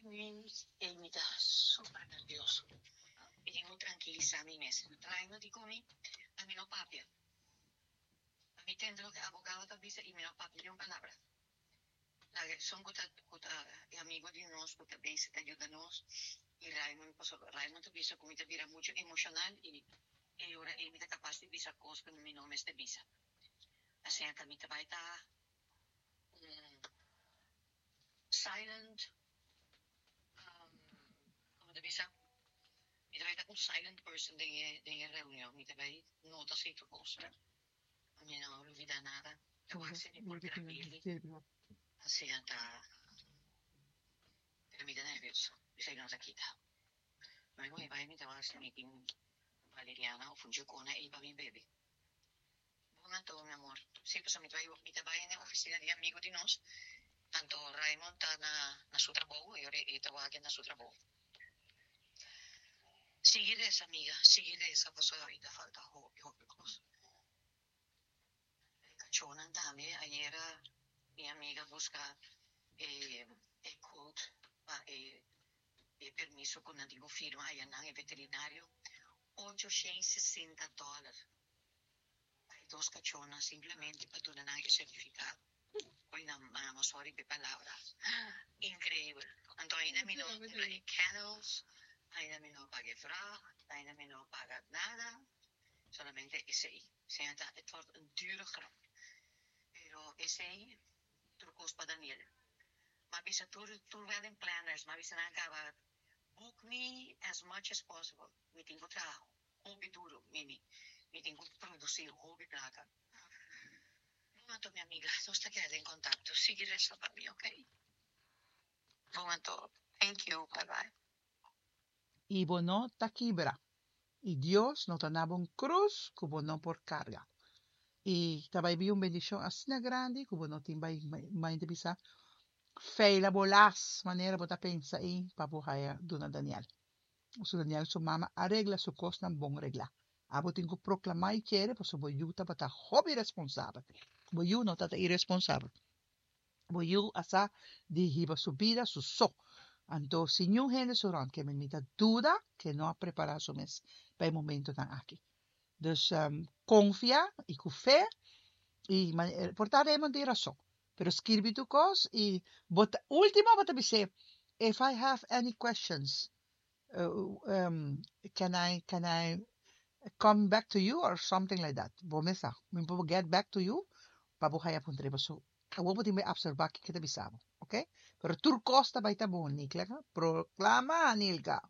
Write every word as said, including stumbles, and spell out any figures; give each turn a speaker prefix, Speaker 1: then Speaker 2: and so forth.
Speaker 1: Minuut i mi ta super nervioso. Mi tin ku trankilisá mi mes. Raymond di ku mi, ami no papia. Mi tende loke abogado ta bisa i mi no papia ni un palabra. Esun ku ta ku ta amigu di nos, ku ta bezig ta yuda nos. I Raymond, paso Raymond ta bisa ku mi ta bira muchu emoshonal i e ora ei mi ta kapas di bisa kos ku mi no mester bisa. Asina ku mi ta bai ta um, silent, um, kon ta bisa? Mi ta bai ta un silent person den den reunion. Mi ta bai nota sierto kos. Mi no lubidá nada. Mi por grab'é. Asina ta. Pero mi ta nervioso. Esei no ta kita. Ma mi bai mi ta si mi tin valeriana òf un chokona ei pa mi bebe. Bon anto, mi amor. Si, pues mi ta bai mi ta bai na ofisina di amigu di nos. Anto Raymond ta na na su trabou i e ta na su trabou. Sigui resa, amiga. Sigui resa, pasobra ainda falta hopi, hopi kos. Kachónan tambe. Ayera mi amiga a buska eh, e quote pa e, e permiso ku nan tin firma einan e veterinario. ochocientos sesenta dòler. Dos kachónan simplemente pa duna nan e sertifikado. Oi, no, mama, sorry pa palabra. Inkreibel. Anto ainda mi no kumpra kennels, ainda mi no paga vracht, ainda mi no paga nada. Solamente esei. Sea, het wordt een dure grap. Pero esei, tur kos pa Daniel. M'a bisa tur, tur wedding planners, m'a bisa nan kaba book me as much as possible. Mi tin ku traha hopi duru, Mimi. Mi tin ku produsí hopi plaka. Bon, anto, mi amiga, nos ta keda den kontakto. Sigui resa pa mi, ok? Bon, anto. Thank you. Bye bye.
Speaker 2: I bo no ta kibra. I Dios no ta duna bo un krus ku bo no por karga. I ta bai bin un bendishon asina grandi ku bo no tin bai mai di bisa feila bolas manera bo ta pensa ei pa bo haya duna Daniel. So Daniel su mama a regla su kosnan bon reglá. Abo tin ku proklamá i kere paso bo yu tabata hopi responsabel. Bo yu no tata irresponsabel. Bo yu a sa di hiba su bida su so. Anto si niun hende su rònt ke mi ta duda ku no a prepará su mes pa e momentonan aki. Dus um, konfia i ku fe i por ta Raymond tin rason. Pero skirbi tur kos i bota último bo ta bisa if I have any questions uh, um, can I can I come back to you or something like that. Bo mes sa, mi por get back to you pa bo haya puntra so. Awor bo tin observá kiko ta bisa bo, ok? Pero tur kos ta bai ta bon, Nikla. Proklama, Nilka.